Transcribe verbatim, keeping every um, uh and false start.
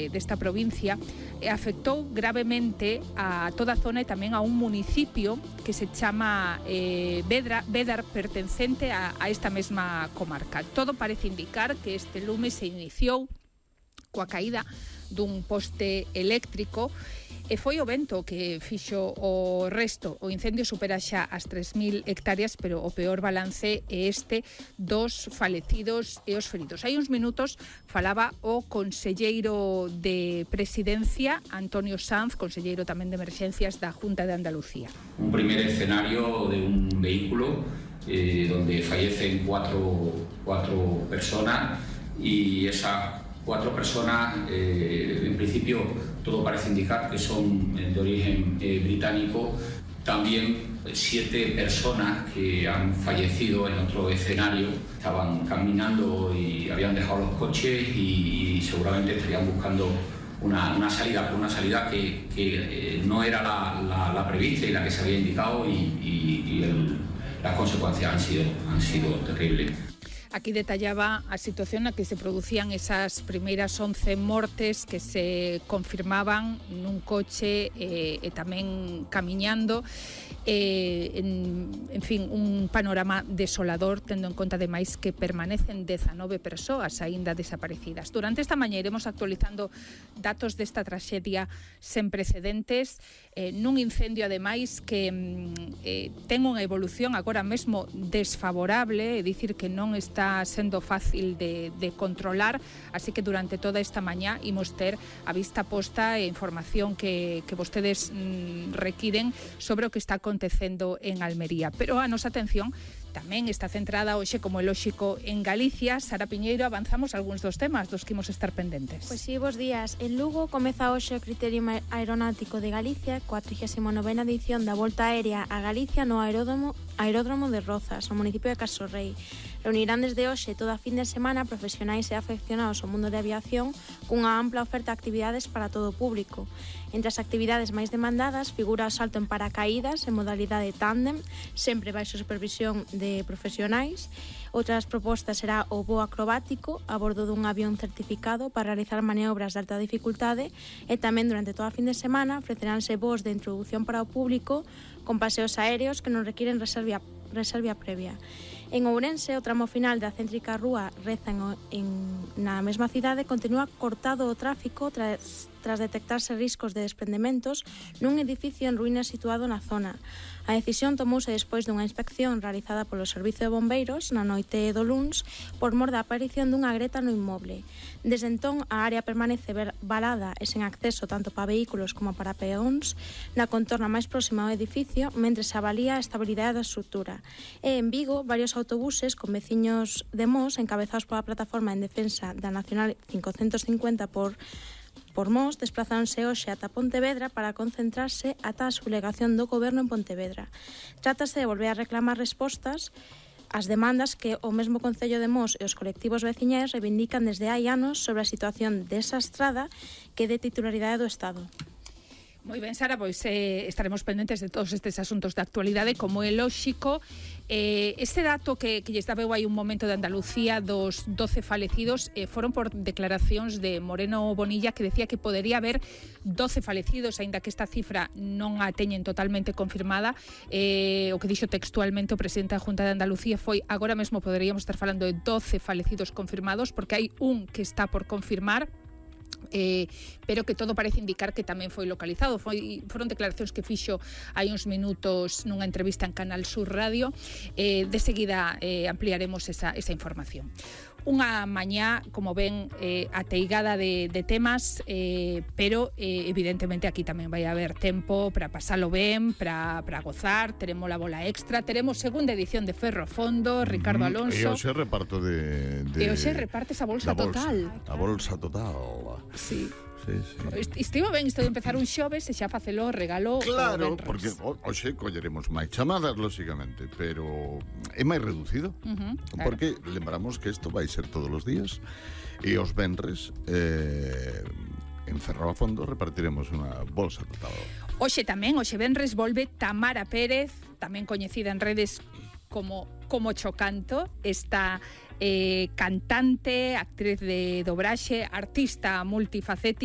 desta provincia e afectou gravemente a toda a zona e tamén a un municipio que se chama eh, Vedra, Vedar, pertencente a, a esta mesma comarca. Todo parece indicar que este lume se iniciou coa caída dun poste eléctrico e foi o vento que fixo o resto. O incendio supera xa as tres mil hectáreas, pero o peor balance é este dos falecidos e os feridos. Hai uns minutos falaba o conselleiro de Presidencia, Antonio Sanz, conselleiro tamén de Emerxencias da Junta de Andalucía. Un primer escenario de un vehículo eh, donde fallecen cuatro, cuatro personas y esas cuatro personas, eh, en principio todo parece indicar que son de origen eh, británico. También siete personas que han fallecido en otro escenario, estaban caminando y habían dejado los coches y, y seguramente estarían buscando una, una salida, por una salida que, que eh, no era la, la, la prevista y la que se había indicado y, y, y el, las consecuencias han sido, han sido terribles. Aquí detallaba a situación na que se producían esas primeiras once mortes que se confirmaban nun coche e, e tamén camiñando. Eh, en, en fin, un panorama desolador, tendo en conta ademais que permanecen dezanove persoas aínda desaparecidas. Durante esta mañá iremos actualizando datos desta traxedia sen precedentes, eh, nun incendio ademais que eh, ten unha evolución agora mesmo desfavorable, é dicir que non está sendo fácil de, de controlar, así que durante toda esta mañá imos ter a vista posta e información que, que vostedes mm, requiren sobre o que está acontecendo en Almería. Pero a nosa atención tamén está centrada hoxe, como é lóxico, en Galicia. Sara Piñeiro, avanzamos algúns dos temas dos que imos estar pendentes. Pois sí, bos días. En Lugo comeza hoxe o Criterio Aeronáutico de Galicia, coa trigésima novena edición da Volta Aérea a Galicia no aeródromo, aeródromo de Rozas, no municipio de Casorrei. Reunirán desde hoxe toda a fin de semana profesionais e afeccionados ao mundo de aviación cunha ampla oferta de actividades para todo o público. Entre as actividades máis demandadas figura o salto en paracaídas en modalidade tándem, sempre baixo supervisión de profesionais. Outras propostas será o voo acrobático a bordo dun avión certificado para realizar maniobras de alta dificultade e tamén durante toda a fin de semana ofreceránse voos de introducción para o público con paseos aéreos que non requiren reserva, reserva previa. En Ourense, o tramo final da céntrica rúa Reza en, en, na mesma cidade continúa cortado o tráfico tras, tras detectarse riscos de desprendementos nun edificio en ruínas situado na zona. A decisión tomouse despois dunha inspección realizada polo Servicio de Bombeiros na noite do luns por mor da aparición dunha greta no inmoble. Desde entón, a área permanece valada e sen acceso tanto para vehículos como para peóns na contorna máis próxima ao edificio, mentre se avalía a estabilidade da estrutura. E en Vigo, varios autobuses con veciños de Mos, encabezados pola plataforma en defensa da Nacional quinhentos cincuenta por Por Mos, desplazáronse hoxe ata Pontevedra para concentrarse ata a sublegación do Goberno en Pontevedra. Trátase de volver a reclamar respostas ás demandas que o mesmo Concello de Mos e os colectivos veciñais reivindican desde hai anos sobre a situación desa estrada que é de titularidade do Estado. Moi ben, Sara, pois eh, estaremos pendentes de todos estes asuntos de actualidade, como é lóxico. Eh, este dato que, que lles daba hai un momento de Andalucía dos doce falecidos eh, foron por declaracións de Moreno Bonilla, que decía que podería haber doce falecidos, aínda que esta cifra non a teñen totalmente confirmada. Eh, o que dixo textualmente o presidente da Junta de Andalucía foi: agora mesmo poderíamos estar falando de doce falecidos confirmados, porque hai un que está por confirmar. Eh, pero que todo parece indicar que tamén foi localizado. Foi, foron declaracións que fixo hai uns minutos nunha entrevista en Canal Sur Radio. Eh, de seguida eh, ampliaremos esa, esa información. Unha mañá, como ven, eh, ateigada de, de temas, eh, pero eh, evidentemente aquí tamén vai haber tempo para pasalo ben, para, para gozar. Teremos la bola extra, teremos segunda edición de Ferro Fondo, Ricardo Alonso. E hoxe reparto de... de... E hoxe repartes a bolsa, bolsa total. A bolsa total. Sí. Sí, sí. Estivo ben isto de empezar un xoves e xa facelo regalo. Claro, porque hoxe colleremos máis chamadas, lóxicamente, pero é máis reducido, uh-huh, claro. Porque lembramos que isto vai ser todos os días e os venres eh, en Ferro a Fondo repartiremos unha bolsa total. Hoxe tamén, hoxe venres, volve Tamara Pérez, tamén coñecida en redes como como Chocanto, está eh, cantante, actriz de dobraxe, artista multifacética.